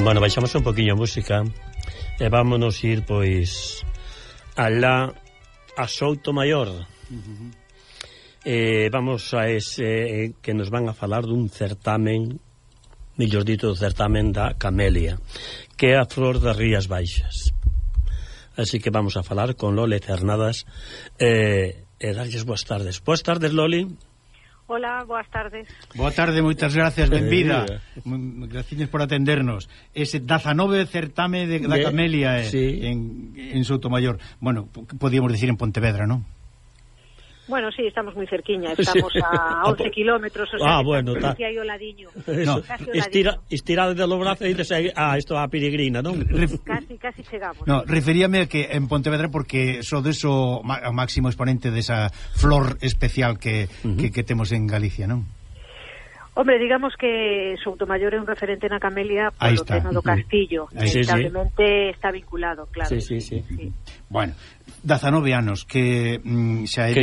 Bueno, baixamos un poquinho a música e vámonos ir, pois, alá a Soutomaior. Vamos a ese que nos van a falar dun certamen, mellor dito, do certamen da camelia, que é a flor das Rías Baixas. Así que vamos a falar con Loli Cernadas e darlles boas tardes. Boas tardes, Loli. Hola, boas tardes. Boa tarde, moitas gracias, benvida. Gracias por atendernos. Ese 19 certame da camelia sí. en Soutomaior. Bueno, podíamos decir en Pontevedra, non? Bueno, sí, estamos moi cerquiña, estamos a 11 kilómetros, o sea, bueno, está aquí hai o ladiño. No, estirado de los brazos e dices, isto a peregrina, non? Casi chegamos. No, referíame a que en Pontevedra porque sodes o máximo exponente desa flor especial que temos en Galicia, non? Hombre, digamos que Soutomaior é un referente na camelia polo tema do castillo. Inevitablemente está vinculado, claro. Sí. Bueno, 19 anos que xa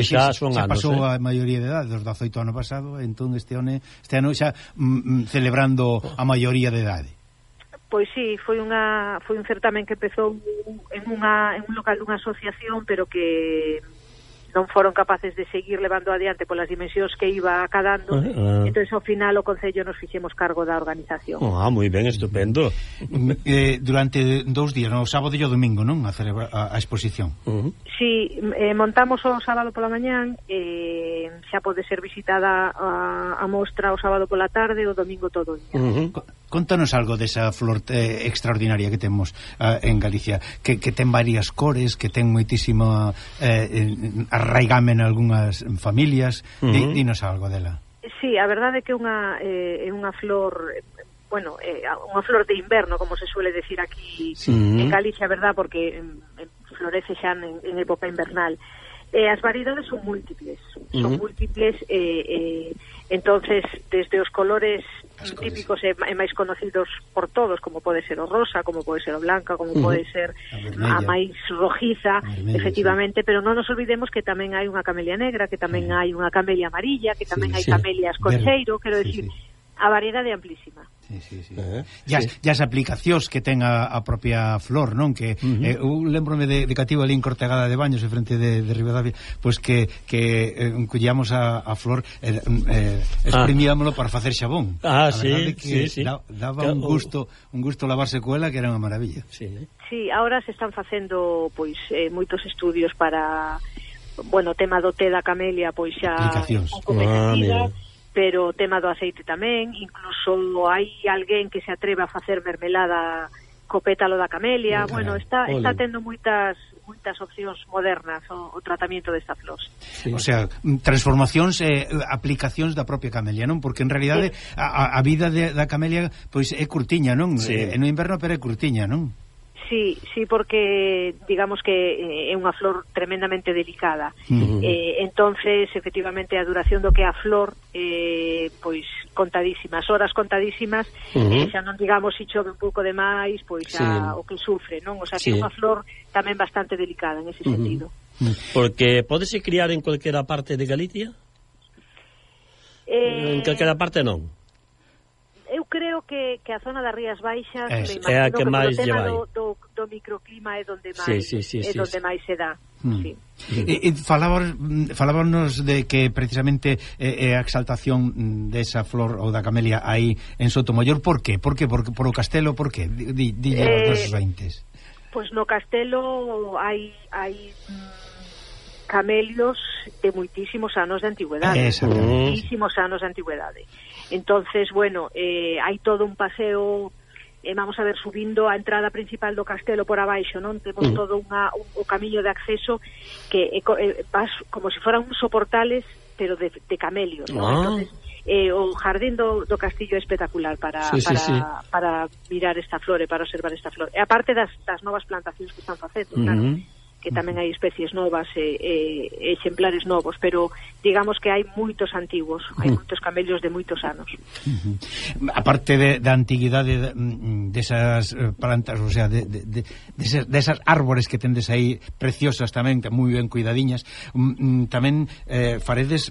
pasou a maioría de edade, dos 18 ano pasado, entón este ano xa celebrando a maioría de idade. Pois sí, foi un certamen que empezou en un local dunha asociación, pero que non foron capaces de seguir levando adiante polas dimensións que iba acadando, entón ao final o Concello nos fixemos cargo da organización. Moi ben, estupendo. Durante 2 días, no sábado e o domingo, non? A exposición. Sí, montamos o sábado pola mañán, xa pode ser visitada a mostra o sábado pola tarde, o domingo todo o día. Contanos algo desa flor extraordinaria que temos en Galicia, que ten varias cores, que ten moitísima arraigame en algunhas familias. Dinos algo dela. Sí, a verdade é que é unha flor, bueno, unha flor de inverno, como se suele decir aquí en Galicia, verdad, porque florece xa en época invernal. As variedades son múltiples, entonces desde os colores típicos e máis conocidos por todos, como pode ser o rosa, como pode ser o blanca, como pode ser a máis rojiza, efectivamente, pero non nos olvidemos que tamén hai unha camelia negra, que tamén hai unha camelia amarilla, que tamén hai camelias con cheiro, quero decir, a variedade é amplísima. E as aplicacións que ten a propia flor, non? Que eu lembrome de cativo ali en Cortegada de Baños, en frente de Ribadavia, pois que collíamos a flor, exprimíamolo para facer xabón. Sí. Daba un gusto lavarse coela que era unha maravilla. Sí, ahora se están facendo pois moitos estudios para, bueno, o tema do té da camelia, pois xa aplicacións. Pero o tema do aceite tamén, incluso hai alguén que se atreve a facer mermelada co pétalo da camelia. Bueno, está tendo moitas opcións modernas o tratamento desta flor. O sea, transformacións e aplicacións da propia camelia, non? Porque en realidade a vida da camelia pois é curtiña, non? No inverno pero é curtiña, non? Sí, porque digamos que é unha flor tremendamente delicada. Entonces, efectivamente, a duración do que a flor pois contadísimas, horas contadísimas, xa non digamos se chove un pouco de máis, pois xa o que sufre, non? O sea, que é unha flor tamén bastante delicada en ese sentido. Porque podese criar en cualquera parte de Galicia? En calquera parte non? Eu creo que a zona das Rías Baixas é a que máis lle vai. Do microclima é donde máis se dá. Falábamos de que precisamente a exaltación desa flor ou da camelia aí en Soutomaior. Por qué? Por o castelo? Por qué? Dille aos nosos ointes. Pois no castelo hai camelios de moitísimos anos de antigüedade. Entonces, bueno, hai todo un paseo, vamos a ver, subindo a entrada principal do castelo por abaixo, non? Temos todo o camiño de acceso que vas como se foran uns soportales, pero de camelios, non? Entonces, o jardín do castillo é espectacular para mirar esta flor e para observar esta flor. E aparte das novas plantacións que están facendo, claro, que tamén hai especies novas e exemplares novos, pero digamos que hai moitos antiguos, hai moitos camelios de moitos anos. Aparte da antiguidade desas plantas, o sea, desas árbores que tendes aí preciosas tamén, moi ben cuidadiñas, tamén faredes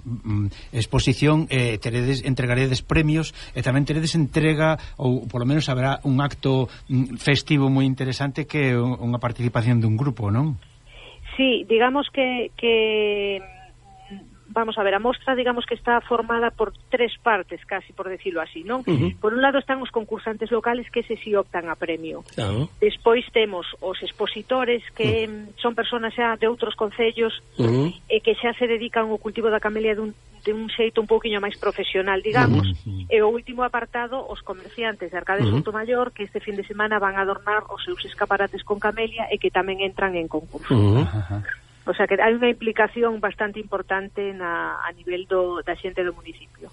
exposición, entregaredes premios, e tamén teredes entrega, ou polo menos haberá un acto festivo moi interesante que é unha participación dun grupo, non? Sí, digamos que vamos a ver, a mostra, digamos que está formada por tres partes, casi por decirlo así, non? Por un lado están os concursantes locales que se si optan a premio. Despois temos os expositores que son personas xa de outros concellos e que xa se dedican ao cultivo da camelia de un xeito un pouquiño máis profesional, digamos. E o último apartado, os comerciantes de Arcade Soutomaior, que este fin de semana van a adornar os seus escaparates con camelia e que tamén entran en concurso. O sea que hai unha implicación bastante importante a nivel da xente do municipio.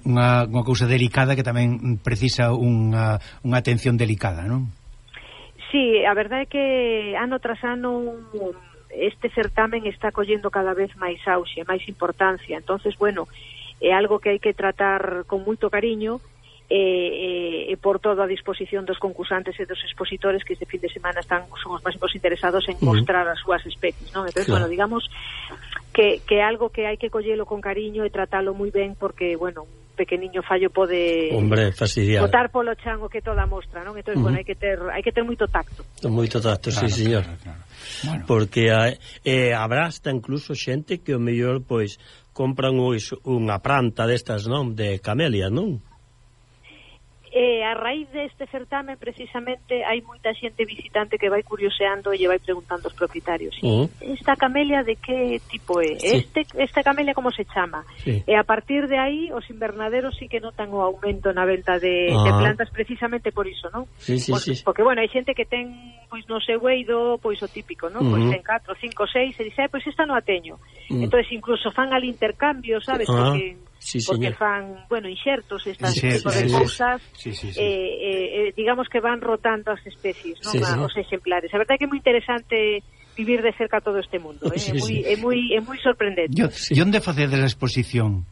Unha cousa delicada que tamén precisa unha atención delicada, non? Sí, a verdade é que ano tras ano este certamen está collendo cada vez máis auxe, máis importancia. Entonces, bueno, é algo que hai que tratar con moito cariño e por todo a disposición dos concursantes e dos expositores que este fin de semana son os máximos interesados en mostrar as súas especies, non? Entonces, bueno, digamos que algo que hai que collelo con cariño e tratalo moi ben porque, bueno, un pequeniño fallo pode botar polo chan o que toda a mostra, non? Entonces, bueno, hai que ter moito tacto. Moito tacto, claro, sí, señor. Claro. Bueno. Porque habrá hasta incluso xente que o mellor, pois, compran unha planta destas, non? De camelia, non? A raíz deste certamen, precisamente, hai moita xente visitante que vai curioseando e lle vai preguntando aos propietarios esta camelia de que tipo é? Sí. Esta camelia como se chama? Sí. E a partir de aí, os invernaderos sí que notan o aumento na venta de plantas precisamente por iso, non? Sí. Porque, bueno, hai xente que ten, pois, no seu eido, pois, o típico, non? Pois ten 4, 5, 6, e dice, pois esta non a teño. Entonces, incluso fan al intercambio, sabes? Porque fan, bueno, inxertos, estas tipo de cousas, digamos que van rotando as especies, non? Os exemplares. A verdade é que é moi interesante vivir de cerca todo este mundo, é moi sorprendente. E onde facedes a exposición?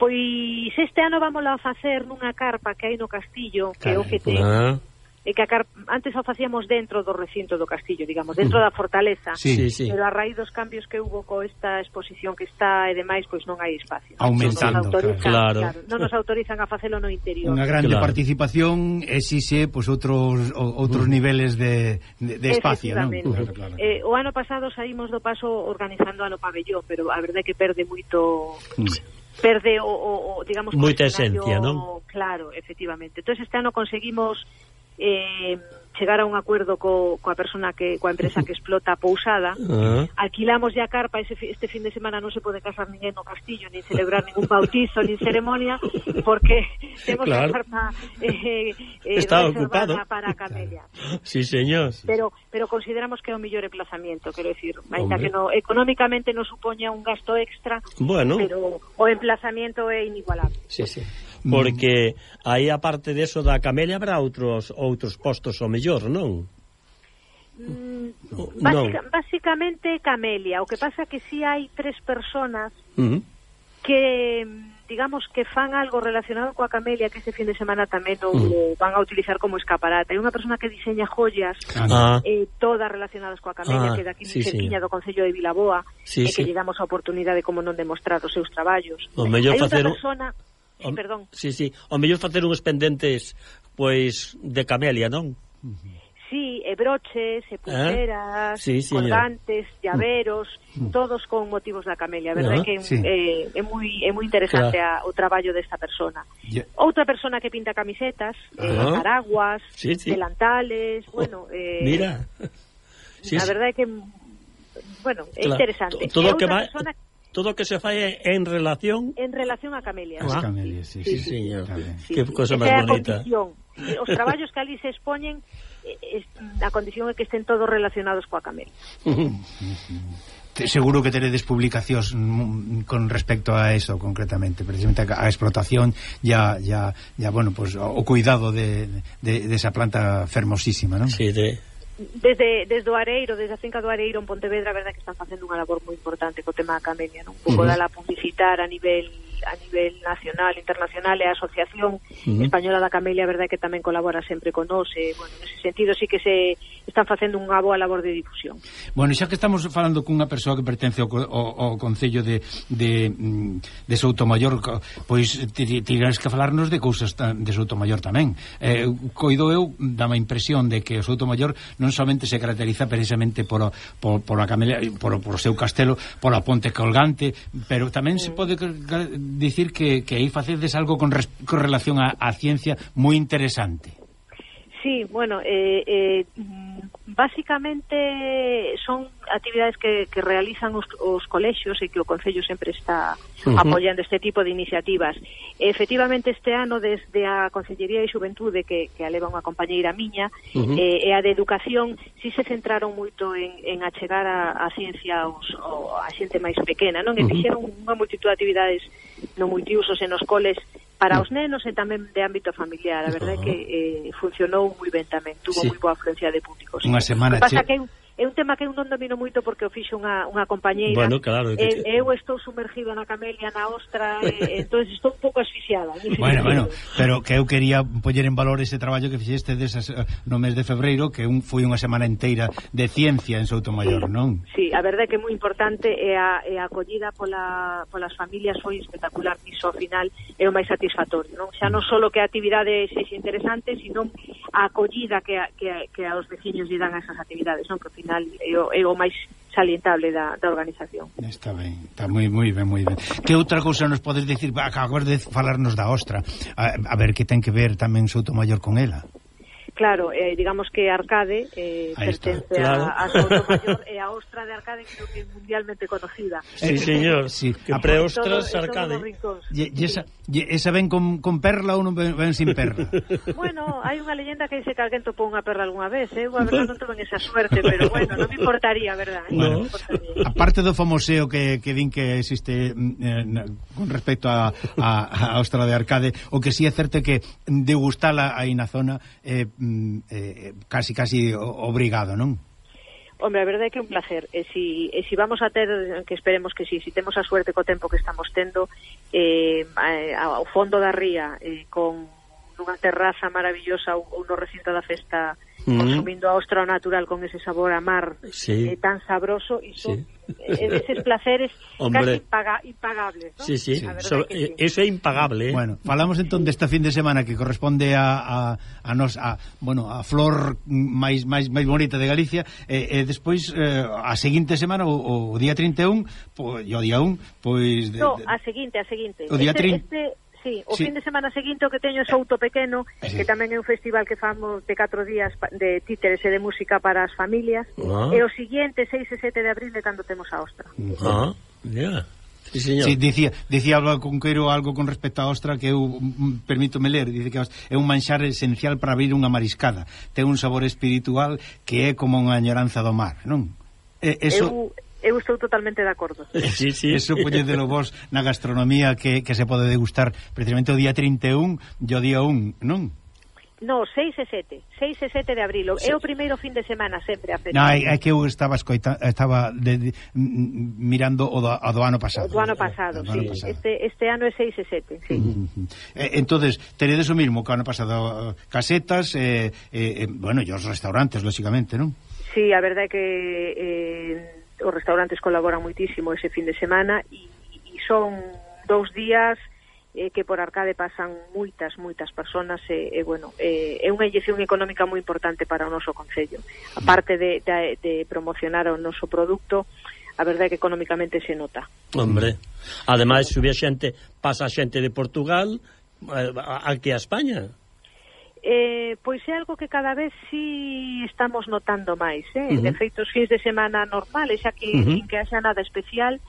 Pois este ano vamos a facer nunha carpa que hai no castillo, que é o que ten. E que antes o facíamos dentro do recinto do castillo, digamos, dentro da fortaleza, pero a raíz dos cambios que hubo co esta exposición que está e demais, pois non hai espacio. Aumentando, claro. Non nos autorizan a facelo no interior. Unha grande participación exixe pois outros niveles de espacio, non? Claro. O ano pasado saímos do paso organizando ano pabellón, pero a verdade é que perde moito... Perde o digamos... Moita esencia, non? Claro, efectivamente. Entón este ano conseguimos chegar a un acuerdo coa empresa que explota a pousada. Alquilamos ya carpa, este fin de semana non se pode casar ninguén no castillo, nin celebrar ningún bautizo, nin ceremonia, porque temos a carpa está ocupada para a camelia. Sí, señor. Pero consideramos que é o mellor emplazamiento, quero decir, ainda que económicamente non supoña un gasto extra, pero o emplazamiento é inigualable. Sí. Porque aí, aparte deso da camelia, habrá outros postos o mellor, non? Básicamente camelia. O que pasa que si hai 3 personas que, digamos, que fan algo relacionado coa camelia, que este fin de semana tamén o van a utilizar como escaparate. Hai unha persona que diseña joyas todas relacionadas coa camelia, que daqui cerquiña do Concello de Vilaboa, e que lle damos a oportunidade como non demostrar os seus traballos. Hai outra persona... perdón. Sí. O mellor facer uns pendentes, pois, de camelia, non? Sí, e broches, e pulseras, colgantes, llaveros, todos con motivos da camelia. A verdade que é moi interesante o traballo desta persona. Outra persona que pinta camisetas, paraguas, delantales, bueno... Mira. A verdade que, bueno, é interesante. Todo o que se fai en relación a camelia. As camelias, sí, señor. Que cosa máis bonita. Os traballos que ali se expoñen, a condición é que estén todos relacionados coa camelia. Seguro que teredes publicacións con respecto a eso concretamente, precisamente a explotación bueno, pues o cuidado de esa planta fermosísima, non? Sí, Desde o Areiro, desde a finca do Areiro en Pontevedra, a verdade que están facendo unha labor moi importante co tema da camelia, non? Un pouco dala publicitar a nivel nacional, internacional, e a Asociación Española da Camelia, a verdade que tamén colabora sempre con nós, e, bueno, nese sentido sí que se están facendo unha boa labor de difusión. Bueno, xa que estamos falando cunha persoa que pertence ao Concello de Soutomaior, pois tirás que falarnos de cousas de Soutomaior tamén. Coido eu, dame a impresión de que o Soutomaior non somente se caracteriza precisamente por a camelia, por o seu castelo, por a ponte colgante, pero tamén se pode dicir que aí facedes algo con relación á ciencia moi interesante. Sí, bueno, básicamente son actividades que realizan os colexios e que o Concello sempre está apoiando este tipo de iniciativas. Efectivamente, este ano, desde a Consellería de Xuventude, que a leva unha compañeira miña, e a de Educación, sí se centraron moito en achegar a ciencia a xente máis pequena, non? E fixeron unha multitud de actividades no multiusos en os coles para os nenos e tamén de ámbito familiar. A verdade é que funcionou moi ben tamén, tuvo moi boa afluencia de públicos. Unha semana pasa que é un tema que eu non domino moito porque o fixo unha compañeira. Bueno, claro, eu estou sumergida na camelia, na ostra, entón estou un pouco asfixiada. Bueno, pero que eu quería poñer en valor ese traballo que fixeste no mes de febreiro, que foi unha semana inteira de ciencia en Soutomaior, non? Sí, a verdade é que é moi importante, e a acollida polas familias foi espectacular, iso ao final é o máis satisfactorio, non? Xa non só que a actividade sexa interesante, sino a acollida que aos veciños lle dan a esas actividades, non? Que ao final é o máis salientable da organización. Está ben, está moi ben, moi ben. Que outra cousa nos podes dicir? Acabas de falarnos da ostra, a ver que ten que ver tamén Soutomaior con ela. Claro, digamos que Arcade pertence a Soutomaior, e a ostra de Arcade creo que é mundialmente conocida. Sí, señor, sí. A preostras Arcade. E esa ven con perla ou non ven sin perla? Bueno, hai unha leyenda que dice que alguén topou unha perla algunha vez, a verdade non tuve esa suerte, pero bueno, non me importaría, verdad? Bueno, aparte do famoseo que din que existe con respecto a ostra de Arcade, o que si é certo que degustala aí na zona casi obrigado, non? Hombre, a verdade é que é un placer, e si vamos a ter, que esperemos que si temos a suerte co tempo que estamos tendo, ao fondo da ría, con nunha terraza maravillosa ou no recinto da festa, consumindo a ostra natural con ese sabor a mar tan sabroso, iso eses placeres casi impagables, ¿no? Sí. Eso é impagable, Bueno, falamos entón desta fin de semana que corresponde a flor máis bonita de Galicia, e despois a seguinte semana, o día 31, o día 1, pois a seguinte. O día 30. Sí, o fin de semana seguinte o que teño é Souto Pequeno, que tamén é un festival que famos de 4 días de títeres e de música para as familias, e o seguinte, 6 e 7 de abril, é cando temos a ostra. Sí, señor. Sí, dicía Álvaro Conqueiro algo con respecto á ostra que eu permítome ler, dice que é un manxar esencial para abrir unha mariscada, ten un sabor espiritual que é como unha añoranza do mar, non? Eu estou totalmente de acordo. Sí. Eso poñedelo vos na gastronomía que se pode degustar precisamente o día 31 e o día 1, non? No, 6 e 7 de abril. É o primeiro fin de semana sempre a festa. No, é que eu estaba mirando o do ano pasado. O do ano pasado, sí. Este ano é 6 e 7, sí. Entonces, teredes o mismo que o ano pasado, casetas, bueno, e os restaurantes, lógicamente, non? Sí, a verdade é que os restaurantes colaboran moitísimo ese fin de semana, e son 2 días que por Arcade pasan moitas personas, bueno, é unha inyección económica moi importante para o noso concello. A parte de promocionar o noso produto, a verdade é que económicamente se nota. Hombre, ademais se pasa xente de Portugal aquí a España. Pois é algo que cada vez sí estamos notando máis, de feito os fins de semana normales, xa que sin que haxa nada especial,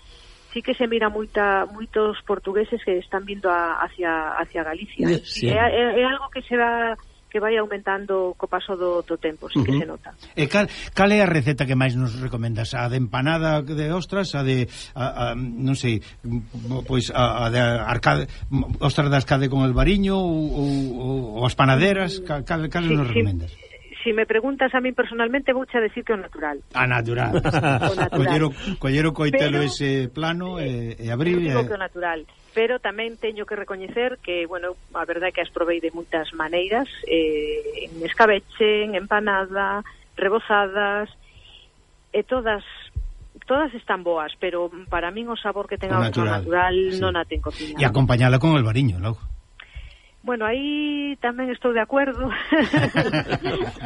sí que se mira moitos portugueses que están vindo hacia Galicia. Sí. É algo que vai aumentando co paso do tempo, sí que se nota. E cal é a receta que máis nos recomendas? A de empanada de ostras, a de non sei, pois a de Arcade, ostras de Arcade con el bariño, ou as panaderas, cal nos recomendas? si me preguntas a mí personalmente, vouche a decir que o natural. A natural. O natural. Collero coitelo ese plano e abrir... Eu digo que o natural. Pero tamén teño que recoñecer que, bueno, a verdade é que as provei de moitas maneiras, en escabeche, en empanada, rebozadas, e todas están boas, pero para min o sabor que ten a outra natural sí. Non a ten cociñada. E acompañala con el albariño, logo. Bueno, aí tamén estou de acordo.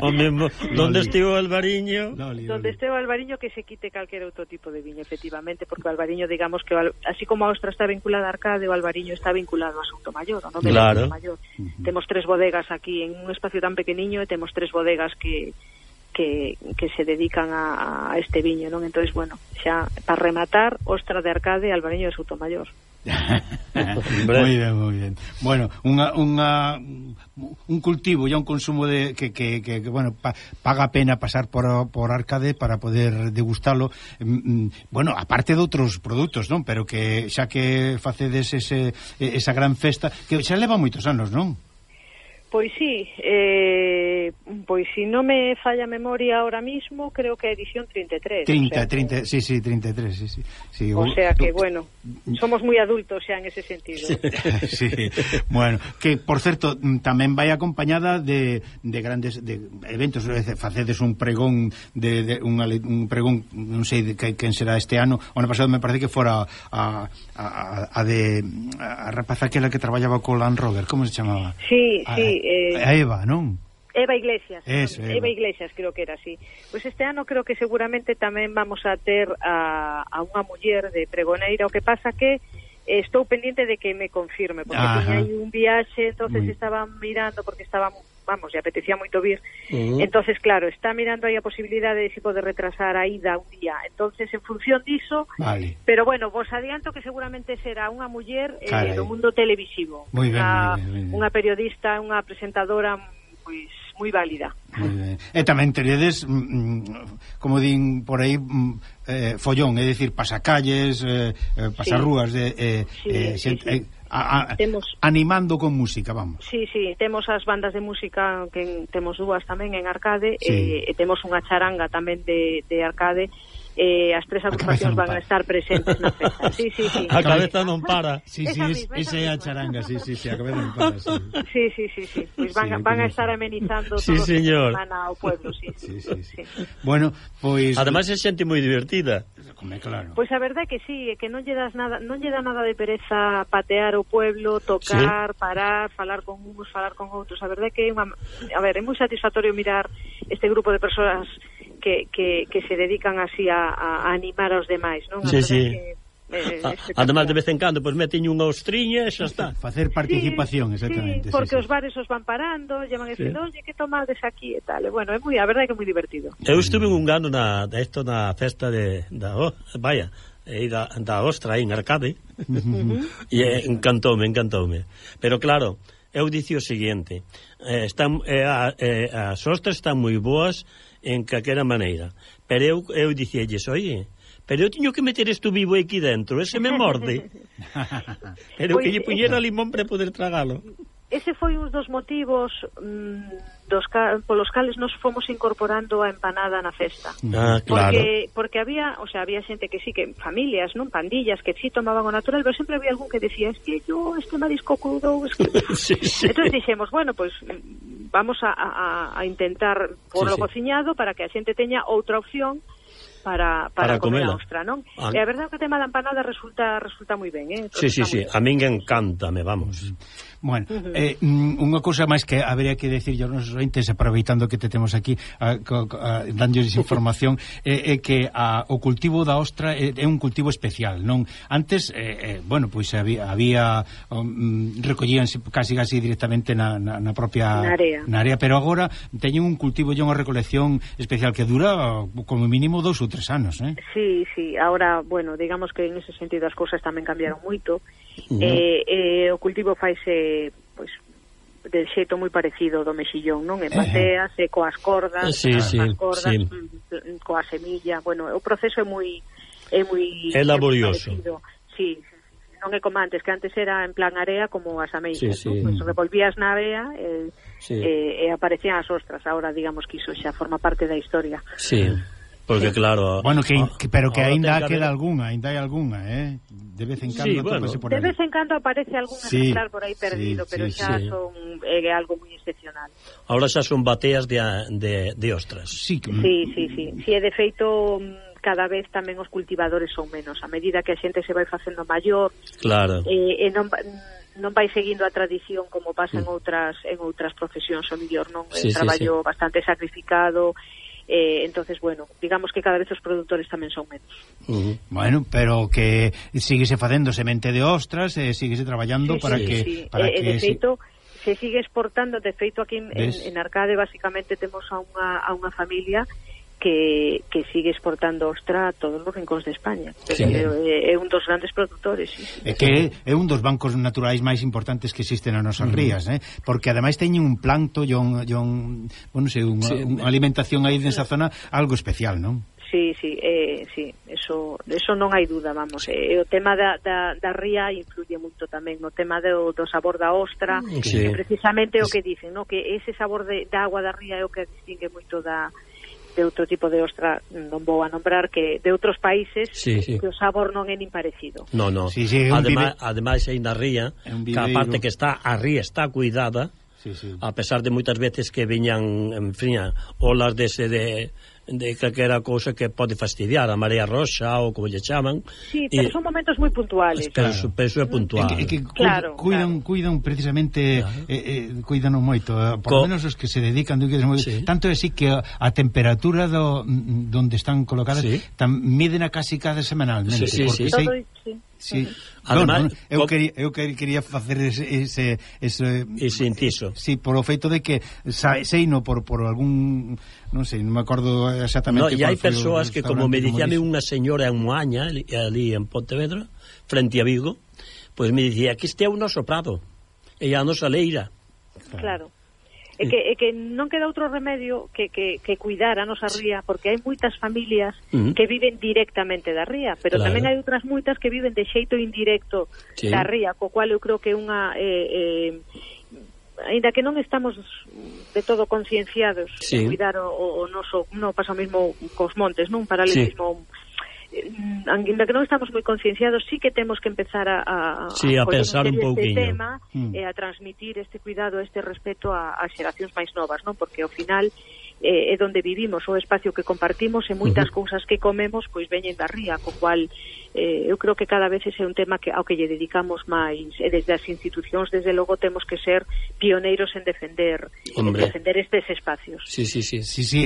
O mesmo, donde estivo o albariño? Donde estivo o albariño que se quite calquera outro tipo de viño, efectivamente, porque o albariño, digamos que así como a Ostra está vinculada a Arcade, o albariño está vinculado a Soutomaior, non? Claro. Temos 3 bodegas aquí en un espacio tan pequeniño e temos 3 bodegas que se dedican a este viño, non? Entonces, bueno, xa para rematar, Ostra de Arcade e albariño de Soutomaior. Moi ben. Bueno, un cultivo e un consumo de que bueno, paga a pena pasar por Arcade para poder degustalo. Bueno, aparte de outros produtos, non? Pero que xa que facedes esa gran festa, que xa leva moitos anos, non? Pois sí, pois si non me falla a memoria ahora mismo, creo que é edición 33. 33, sí. O sea que, bueno, somos moi adultos xa en ese sentido. Sí, bueno, que, por certo, tamén vai acompañada de grandes eventos, facedes un pregón, un pregón, non sei de quen será este ano, o ano pasado me parece que fora a rapaza aquela que traballaba co Land Rover, como se chamaba? Sí. A Eva, non? Eva Iglesias. Eso, Eva Iglesias, creo que era así. Pois este ano creo que seguramente tamén vamos a ter a unha muller de pregoneira, o que pasa que estou pendiente de que me confirme, porque tiña aí un viaxe, entonces estaba mirando, porque estaba, vamos, e apetecía moito vir, entonces claro, está mirando aí a posibilidade de se poder retrasar a ida un día, entonces en función diso, pero bueno, vos adianto que seguramente será unha muller do mundo televisivo, unha periodista, unha presentadora pois moi válida. E tamén teredes, como din por aí, follón, é dicir, pasacalles, pasarrúas, animando con música, vamos. Sí, temos as bandas de música, que temos 2 tamén en Arcade, e temos unha charanga tamén de Arcade, as 3 agrupacións van a estar presentes na festa. Sí. A cabeza non para. Sí, esa é a charanga, sí, a cabeza non para. Sí. Pois van a estar amenizando todo o que semana ao pueblo, sí. Bueno, pois ademais é xente moi divertida. Claro. Pois a verdade é que sí, é que non lle dá nada de pereza patear o pueblo, tocar, parar, falar con uns, falar con outros. A verdade é que é moi satisfactorio mirar este grupo de persoas que se dedican así a animar aos demais, non? Sí. Además, de vez en cando, pois meten unha ostriña e xa está. Facer participación, exactamente. Porque os bares os van parando, lle van dicindo, oye, que tomades aquí e tal. E, bueno, a verdade é que é moi divertido. Eu estuve un ano na festa da Ostra en Arcade, e encantoume. Pero claro, eu dicio o seguinte, as ostras están moi boas en calquera maneira, pero eu dicíalles, oye, pero eu tiño que meter isto vivo aquí dentro, ese me morde. Pero que lle puñera limón para poder tragalo. Ese foi un dos motivos polos cales nos fomos incorporando a empanada na festa. Claro. Porque había xente que sí, que familias, non, pandillas que sí tomaban o natural, pero sempre había algún que decía, es que yo este marisco crudo, es que... Sí. Entonces dixemos, bueno, pues vamos a intentar porlo cociñado para que a xente teña outra opción para comer a ostra, non? E a verdade é que o tema da empanada resulta moi ben, Sí, a min encántame, vamos. Bueno, unha cousa máis que habería que decir aos nosos ointes, aproveitando que te temos aquí dándoles información, é que o cultivo da ostra é un cultivo especial, non? Antes, bueno, pois había recollíanse casi directamente na propia área, pero agora teñen un cultivo e unha recolección especial que dura como mínimo 2 ou 3 anos, Sí, ahora, bueno, digamos que en ese sentido as cousas tamén cambiaron moito. O cultivo faise pois de xeito moi parecido do mexillón, non? Empatease coas cordas, coa semilla. Bueno, o proceso é moi laborioso. Sí, non é como antes, que antes era en plan area como as ameixas, sí, sí. Pues revolvías na area e aparecían as ostras. Ahora digamos que iso xa forma parte da historia. Sí. Porque claro, bueno, pero que aínda queda algunha, de vez en cando por aí. De vez en cando aparece algún ejemplar por aí perdido, pero xa son algo moi excepcional. Ahora xa son bateas de ostras. Sí, de feito cada vez tamén os cultivadores son menos, a medida que a xente se vai facendo maior. Claro. E non vai seguindo a tradición como pasa en outras profesións, o mellor non, traballo bastante sacrificado. Entonces, bueno, digamos que cada vez os produtores tamén son menos. Bueno, pero que síguese facendo semente de ostras, síguese traballando para que... De feito, se sigue exportando. De feito, aquí en Arcade basicamente temos a unha familia que sigue exportando ostra a todos os rincóns de España. É un dos grandes produtores. É que é un dos bancos naturais máis importantes que existen nas nosas rías, porque ademais teñen un plancto e unha alimentación aí nesa zona algo especial, non? Sí, eso non hai duda, vamos. O tema da ría influye moito tamén no tema do sabor da ostra, precisamente o que dicen, no? Que ese sabor da agua da ría é o que distingue moito de outro tipo de ostra, non vou a nombrar, que de outros países que o sabor non é nin parecido. No. Ademais aí na ría, que a parte que a ría está cuidada, a pesar de moitas veces que viñan, en fin, olas de calquera cousa que pode fastidiar, a marea roxa ou como lle chaman. Sí, pero son momentos moi puntuales. Pero é puntual. Cuidan precisamente, cuidan moito, por lo menos os que se dedican, tanto é así que a temperatura donde están colocadas miden a casi cada semanalmente. Sí. Además, eu quería facer ese inciso. Sí, por o feito de que seino por algún, non sei, non me acordo exactamente. E hai persoas que, como me dicíame unha señora en Moaña, ali en Pontevedra, frente a Vigo, pois me dicía que este é o noso prado, e a nosa leira. Claro. É que non queda outro remedio que cuidar a nosa ría, porque hai moitas familias que viven directamente da ría, pero tamén hai outras moitas que viven de xeito indirecto da ría, co cual eu creo que unha aínda que non estamos de todo concienciados de cuidar o noso, non pasa o mesmo cos montes, non? Paralelismo. Aínda que non estamos moi concienciados, sí que temos que empezar a pensar un pouquinho este tema e a transmitir este cuidado, este respeto a xeracións máis novas, non? Porque ao final é onde vivimos, o espacio que compartimos e moitas cousas que comemos pois veñen da ría, co cual eu creo que cada vez ese é un tema ao que lle dedicamos máis, e desde as institucións desde logo temos que ser pioneiros en defender estes espacios. Sí.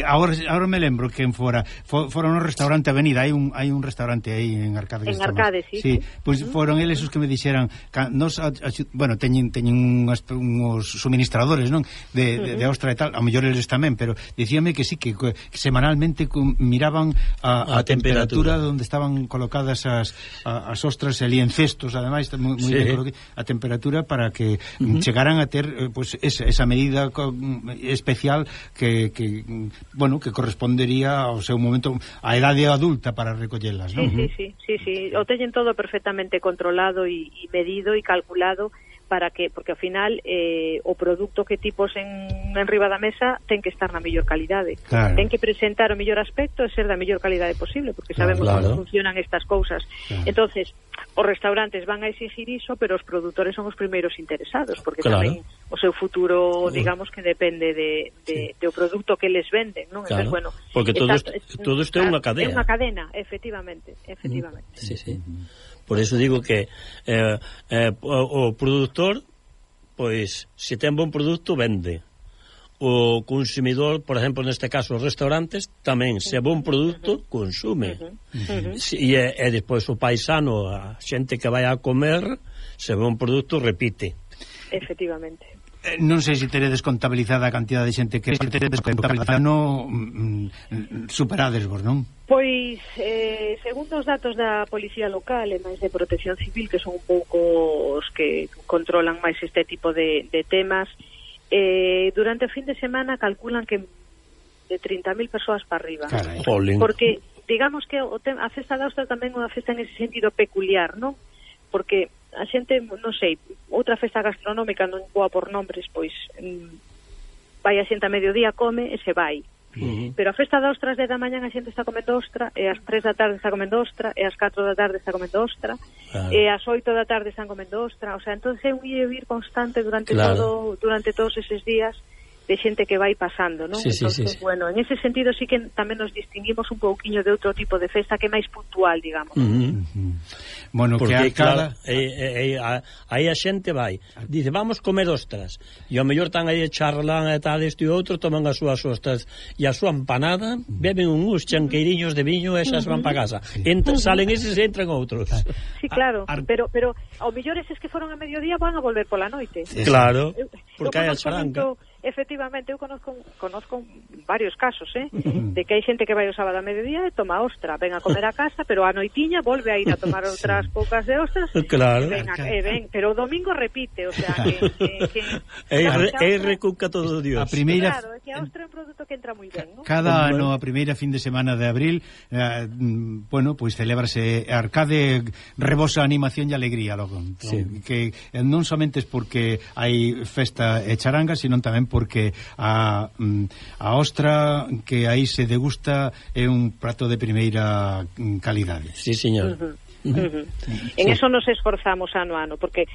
Ahora me lembro que fora no restaurante Avenida, hai un restaurante aí en Arcade. En Arcade, sí. Pois foron eles os que me dixeran, teñen uns suministradores, non? De ostra e tal, a mellor eles tamén, pero dicíame que sí, que semanalmente miraban a temperatura onde estaban colocadas as ostras ali en cestos, ademais a temperatura para que chegaran a ter esa medida especial que correspondería ao seu momento, a idade adulta para recollelas, non? Sí, o teñen todo perfectamente controlado e medido e calculado porque ao final o produto que ti pos en riba da mesa ten que estar na mellor calidade, ten que presentar o mellor aspecto e ser da mellor calidade posible, porque sabemos como funcionan estas cousas. Entonces, os restaurantes van a exigir iso, pero os produtores son os primeiros interesados, porque tamén o seu futuro, digamos, que depende do produto que les venden, non? Entonces, bueno, porque todo isto é unha cadena. É unha cadena, efectivamente. Sí. Por eso digo que o produtor, pois, se ten bon produto, vende. O consumidor, por exemplo, neste caso, os restaurantes, tamén, se é bon produto, consume. E despois o paisano, a xente que vai a comer, se é bon produto, repite. Efectivamente. Non sei se teredes contabilizada a cantidad de xente que teredes contabilizada, superades vos, non? Pois, segundo os datos da Policía Local e máis de Protección Civil, que son un pouco os que controlan máis este tipo de temas, durante o fin de semana calculan que de 30.000 persoas para arriba. Carai. Porque, digamos que a Festa da Ostra tamén é unha festa en ese sentido peculiar, non? Porque a xente, non sei, outra festa gastronómica, non boa por nombres, pois vai a xente a mediodía, come e se vai. Pero a festa da ostra ás 10 da mañan a xente está comendo ostra, e ás 3 da tarde está comendo ostra, e ás 4 da tarde está comendo ostra, e ás 8 da tarde están comendo ostra, o sea, entonces é un ir e vir constante durante todos eses días de xente que vai pasando, non? Entonces, bueno, en ese sentido sí que tamén nos distinguimos un pouquiño de outro tipo de festa que é máis puntual, digamos. Bueno, porque que claro, aí a xente vai, dice, vamos comer ostras, e ao mellor están aí charlan e tal, este e outro, toman as súas ostras e a súa empanada, beben uns chanqueiriños de viño e esas van para casa. Salen eses e entran outros. Sí, claro, pero ao mellor eses que foron a mediodía van a volver pola noite. Claro, porque hai a charanca. Efectivamente, eu conozco varios casos, de que hai xente que vai o sábado a mediodía e toma ostra, ven a comer a casa, pero a noitiña volve a ir a tomar outras poucas de ostras, claro. Ven, pero o domingo repite, o sea, que recuca todo Dios. A primeira, claro, é que a ostra é un produto que entra moi ben, ¿no? Cada ano, a primeira fin de semana de abril, bueno, pois celébrase Arcade, rebosa animación e alegría logo. Que non somente é porque hai festa e charanga, sino tamén porque a ostra que aí se degusta é un prato de primeira calidade. Sí, señor. En eso nos esforzamos ano a ano, porque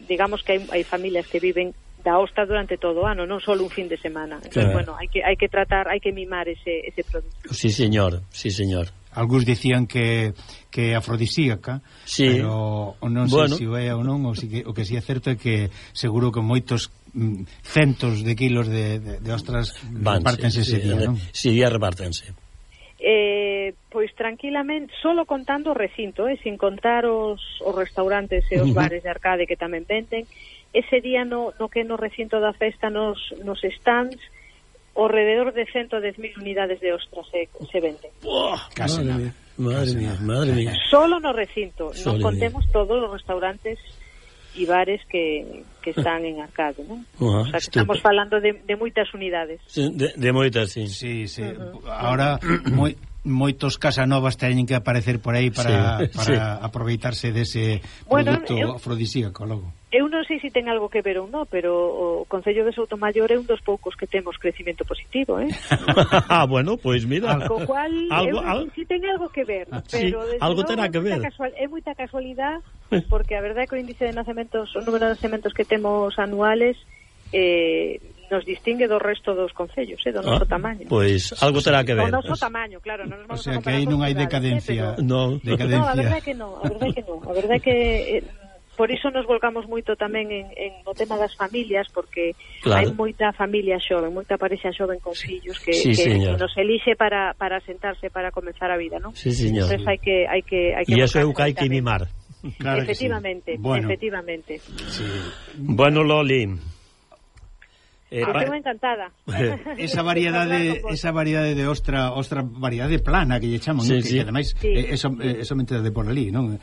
digamos que hai familias que viven da ostra durante todo o ano, non só un fin de semana. Entonces, bueno, hai que tratar, hai que mimar ese producto. Sí, señor. Sí, señor. Algúns dicían que é afrodisíaca, pero non sei se o é ou non, o que si é certo é que seguro que moitos centos de kilos de ostras repártense ese día, non? Si día repártense. Pois tranquilamente, solo contando o recinto, sin contar os restaurantes e os bares de Arcade que tamén venden, ese día no que no recinto da festa nos stands ao rededor de 110.000 unidades de ostras se venden. Casi nada. Madre mía. Solo no recinto, non contemos todos os restaurantes e bares que están en Arcade, non? O sea, que estamos falando de moitas unidades. De moitas, sí. Sí. Ahora moitos casanovas teñen que aparecer por aí para aproveitarse dese produto afrodisíaco logo. Eu non sei se ten algo que ver ou non, pero o Concello de Soutomaior é un dos poucos que temos crecimento positivo, bueno, pois mira. Co cual, si ten algo que ver, pero algo terá que ver. É moita casualidade, porque a verdade é que o índice de nacementos, o número de nacementos que temos anuales nos distingue do resto dos concellos, do noso tamaño. Pois algo terá que ver. O noso tamaño, claro, non nos vamos a comparar. O sea, que aí non hai decadencia. No, a verdade é que non. A verdade é que por iso nos volcamos moito tamén en o tema das familias, porque hai moita familia xoven, moita parexa xoven con fillos que nos elixe para sentarse para comenzar a vida, non? Sí, señor. Entón hai que e iso é o que hai que mimar. Claro, efectivamente, efectivamente. Sí. Bueno, Loli, estou encantada. Esa variedade de ostra variedade plana que lle chaman, que ademais é somente de por ali, non?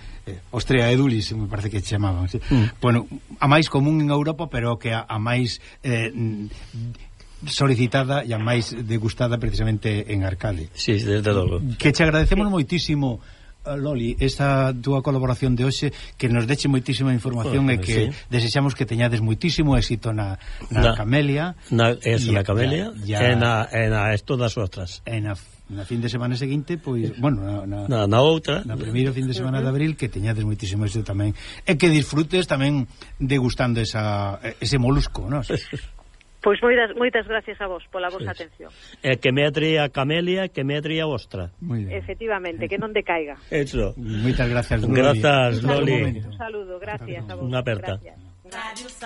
Ostrea edulis, me parece que chamaban. Bueno, a máis común en Europa, pero que a máis solicitada e a máis degustada precisamente en Arcade. Sí, desde logo. Que te agradecemos moitísimo, Loli, esta túa colaboración de hoxe, que nos deche moitísima información e que desexamos que teñades moitísimo éxito na Camelia, na Camelia e na todas as outras. Na fin de semana seguinte, pois, bueno, na outra, na primeiro fin de semana de abril, que teñades moitísimo éxito tamén e que disfrutes tamén degustando ese molusco, non? Pois moitas gracias a vos pola vosa atención. Que me atría a Camelia, que me atría a ostra. Efectivamente, que non decaiga. Eso. Moitas gracias, Loli. Grazas, Loli. Un saludo, gracias a vos. Unha aperta. Gracias.